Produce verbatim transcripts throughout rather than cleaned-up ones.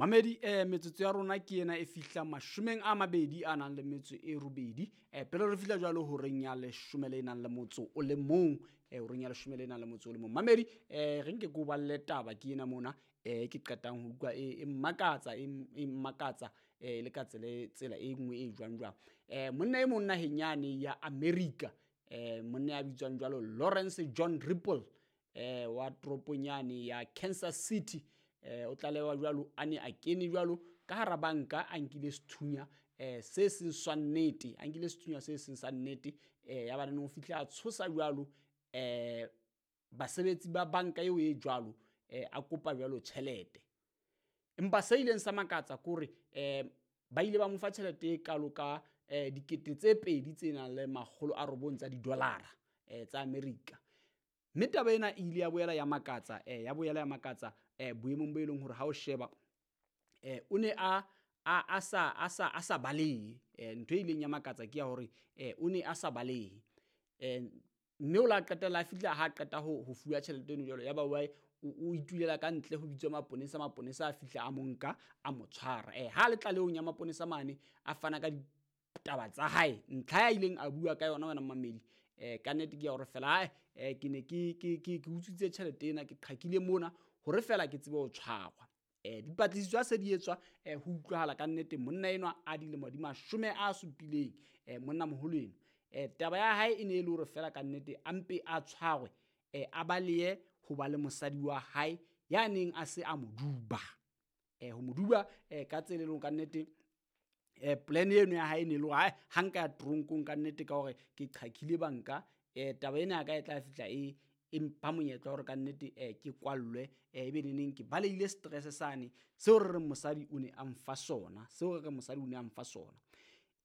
Mamedi, eh metsotso ya rona ke ena e fihla mashomeng a mabedi a nang le metso e robedi. Eh pele re fihla jwalo horeng ya leshome le nang le motso o le mong, eh horeng ya leshome le nang le motso o le mong. Mamedi, eh re nke ke o balle taba ke ena mona, eh ke qetang ho utlwa e mmakatsa, e mmakatsa eh le ka tsela tsela e nngwe e jwang jwang. Eh monna e mong naheng yane ya America, eh monna ya bitswang jwalo Lawrence John Ripple, eh wa toropong yane ya Kansas City. Eh o tlalewa jwalo a ne a kene jwalo ka hara banka a nkile sethunya eh se seng sa nnete, a nkile sethunya se seng sa nnete. Eh ya ba neng o fihla a tshosa jwalo eh basebetsi ba banka eo e jwalo, eh a kopa jwalo tjhelete. Empa se ileng sa makatsa ke hore eh ba ile ba mo fa tjhelete e kalo ka eh dikete tse pedi tse nang le makgolo a robong tsa didolara eh tsa America. Mme taba ena e ile ya boela ya makatsa, eh ya boela ya makatsa eh boemong bo e leng hore ha o sheba eh o ne a a sa a sa a sa balehe. Eh ntho e ileng ya makatsa ke ya hore eh o ne a sa balehe. Eh mme o la qetella a fihla ha qeta ho ho fuwa tjhelete eno jwalo, ya ba wa o itulela ka ntle ho bitswa maponesa. Maponesa a fihla a mo nka a mo tshwara. Eh ha le tlalehong ya maponesa mane a fana ka ditaba tsa hae, ntlha ya ileng a bua ka yona wena mamedi, eh ka nnete ke ya hore fela eh ke ne ke ke ke ke utswitse tjhelete ena, ke qhakile mona hore fela ke tsebe ho tshwarwa. Eh dipatlisiso ha se di etswa, eh ho utlwahala ka nnete monna enwa a dilemo di mashome a supileng, eh monna moholo enwa, eh taba ya hae e ne e le hore fela ka nnete a mpe a tshwarwe, eh a balehe ho ba le mosadi wa hae ya neng a se a mo duba. Eh ho mo duba eh ka tsela e leng ka nnete eh plan eno ya hae ne le hore ha nka ya tronkong ka nnete ka hore ke qhakile banka, eh taba ena ya ka e tla fihla e e mpha monyetla hore ka nnete eh ke kwallwe, eh ebe neneng ke balehile stress sane seo re reng mosadi o ne a mfa sona, seo re reng mosadi o ne a mfa sona.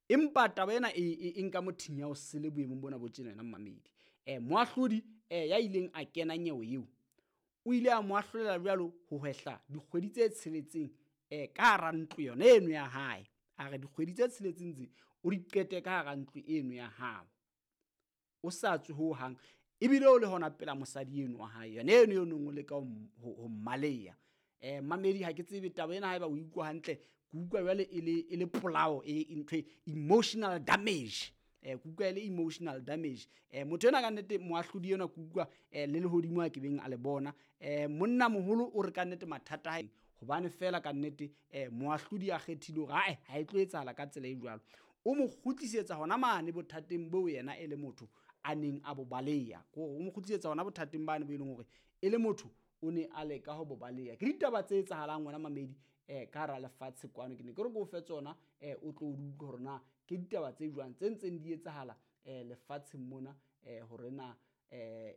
Empa taba ena e e nka mothinya o sele boemong bona bo tjena wena mmamedi. Eh moahlodi eh ya ileng a kena nyewe eo o ile a mo ahlolela jwalo ho hwehla dikgwedi tse tsheletseng eh ka hara ntlo yona eno ya hae. A re dikgwedi tse tsheletseng tse o di qete ka hara ntlo eno ya hao, o sa tswe ho hang, ebile o le hona pela mosadi eno wa hae yona eno eo neng o leka ho mmaleya. Eh mamedi, ha ke tsebe taba ena haeba o utlwa hantle, ke utlwa jwale e le e le polao e ntho emotional damage. Eh ke utlwa e le emotional damage. Eh motho ena ka nnete moahlodi enwa ke utlwa eh le lehodimo a ke beng a le bona. Eh monna moholo o re ka nnete mathata hae hobane fela ka nnete eh moahlodi a kgethile hore ae ha e tlo etsahala ka tsela e jwalo. O mo kgutlisetsa hona mane bothateng boo yena e le motho a neng a bo baleya. Ko o mo kgutlisetsa hona bothateng bane bo e leng hore e le motho o ne a leka ho bo baleya. Ke ditaba tse etsahalang wena mamedi eh ka hara lefatshe kwano. Ke ne ke re ke o fe tsona eh o tlo di utlwe hore na ke ditaba tse jwang tse ntseng di etsahala eh lefatsheng mona, eh hore na eh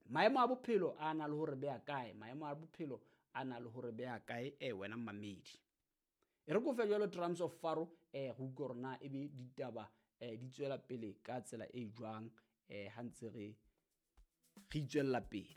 maemo a bophelo a na le hore beha kae, maemo a bophelo a na le hore beha kae eh wena mamedi. E re ke o fe jwalo Drums of Faro, eh go utlwe hore na ebe ditaba eh di tswela pele ka tsela e jwang eh ha ntse re re itswella pele.